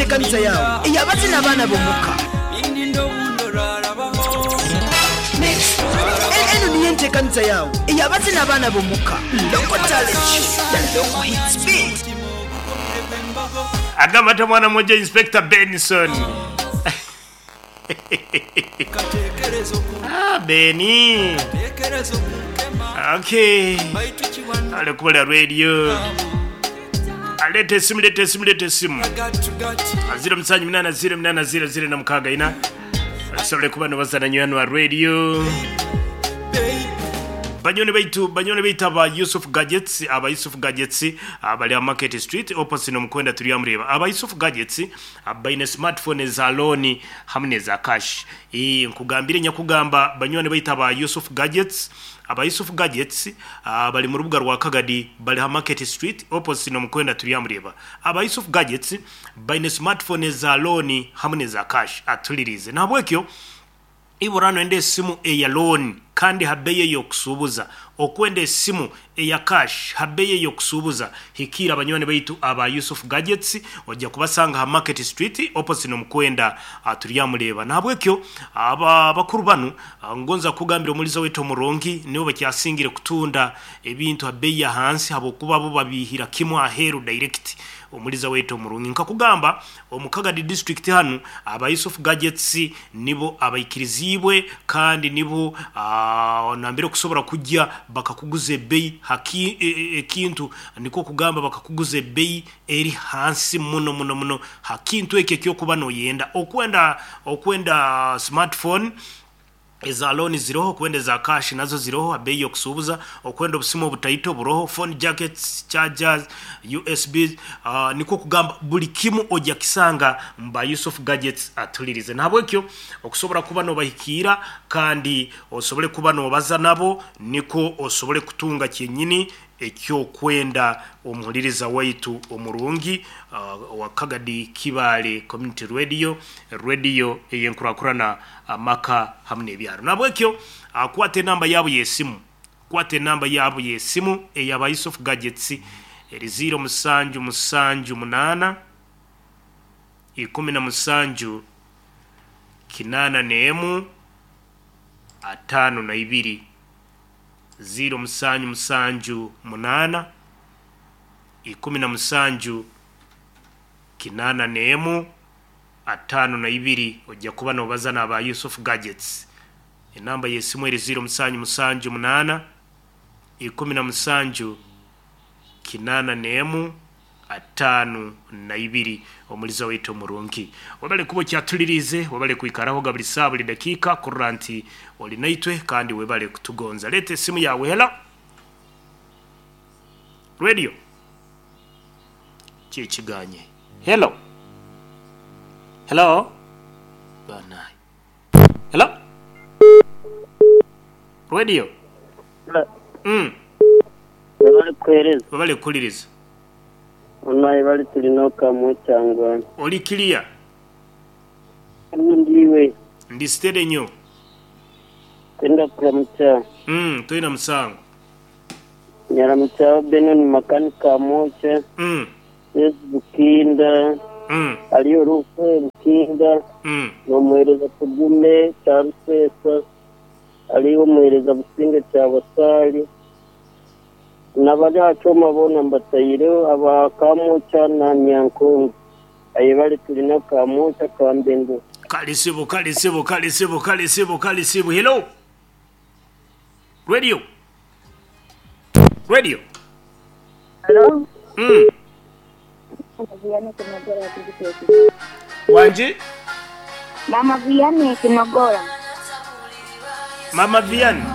enteekaniza yaawe ey'abazina abaana b'omuka. Eno niyo enteekaniza yaawe ey'abazina abaana b'omuka, Local Talent Show na Local Hits Beat. Agamba mwana mwojo Inspector Benson. Ah, Beni. Okay. Ale kubola radio. Alete esimu, lete esimu, lete esimu. 078 0 0 6 Asobole kuba nobazana nywani wa radio. Banywani baitu, banywani baitu aba Yusuf Gadgets, aba Yusuf Gadgets abali aha Market Street opposite n'omukwenda Turyamureba. Aba Yusuf Gadgets baine smartphone eza loan hamwe n'eza cash. Ii nkugambire nyakugamba banywani baitu aba Yusuf Gadgets, aba Yusuf Gadgets bari mu rubuga rwa Kagadi bari aha Market Street opposite n'omukwenda Turyamureba. Aba Yusuf Gadgets baine smartphone eza loan hamwe n'eza cash. Atuliriize. Nahabwekyo Ibura noyenda esimu eya loan kandi ha beyi eyokusuubuza, okwenda esimu eya cash ha beyi eyokusuubuza, hikiira banywani baitu aba Yusuf Gadgets oja kubasanga ha Market Street opposite nomukwenda Turyamureeba. Nahabwekyo aba bakuru banu ngonza kukugambira omuliza waitu omurungi nibo bakyasingire kutunda ebintu ha beyi yahansi habwokuba bo babihira kimu aheeru direct. Omuliza waitu omurungi nkakugamba omu Kagadi district hanu aba Yusuf Gadgets Nibo abaikiriziibwe kandi nibo nambere okusobora kugya bakakuguza ebbeyi ha ekintu, nikwo kugamba bakakuguza ebbeyi eri hansi muno muno muno ha kintu ekyo eky'okuba noyenda. Okwenda okwenda smartphone eza loan ziroho, okwenda eza cash nazo ziroho ha beeyi y'okusuubuza, okwenda obusimu obutaito buroho, phone jackets, chargers, USBs, nikwo kugamba buli kimu oja kisanga mu ba Yusuf Gadgets atulirize. Nahabwekyo okusobora kuba nobahikiira kandi osobole kuba nobaza nabo nikwo osobole kutunga kyenyini ekyokwenda omuhuliriza waitu omurungi owa Kagadi Kibaale Community Radio, Radio eyenkurakurana amaka hamu nebyaro. Nahabwekyo kwata enamba yabo yesimu. Kwata enamba yaabo y'esimu eya ba Yusuf Gadgets eri ziiro musanju musanju munaana, 17, 81, 52. Ziiro musanju musanju munaana, 17, 81, 52 Oja kuba noobaza n'aba Yusuf Gadgets. Enamba y'esimu eri ziiro musanju musanju munaana, 17, 81, 52. Omuliza waitu omurungi, webale kuba okyatuliriize, webale kwikarahoga buli saaha buli dakiika kurora nti oli naitwe kandi webale kutugonza. Leeta esimu yaawe. Hello Radio. Ki ekiganye? Hello. Hello. Banaye. Hello? Radio. Webale kuhereza. Webale kuhuliriza. Onaye bali tulina okamu kyangwani. Oli clear? Ndi iwe. Ndi steady nyo. Twenda kuramukya. Mm, toina musango. Nyaramukyaho Benon Makanika Amokya. Yesu Bukinda, Aliyo Rufe Bukinda, n'omuheereza Tugume Kyaruseesa, aliyo omuheereza Businge Kyabasaali, n'abari aha kyoma boona mbataireho aba Kamwokya na Nyankongo. Ayebare tulina Kamwokya Kambendo. Kale sebo kale sebo kale sebo kale sebo kale sebo hello radio radio Hello. Mm. Mama Vianney Kinogora Kigiteekire. Wangi? Mama Vianney Kinogora. Mama Vianney.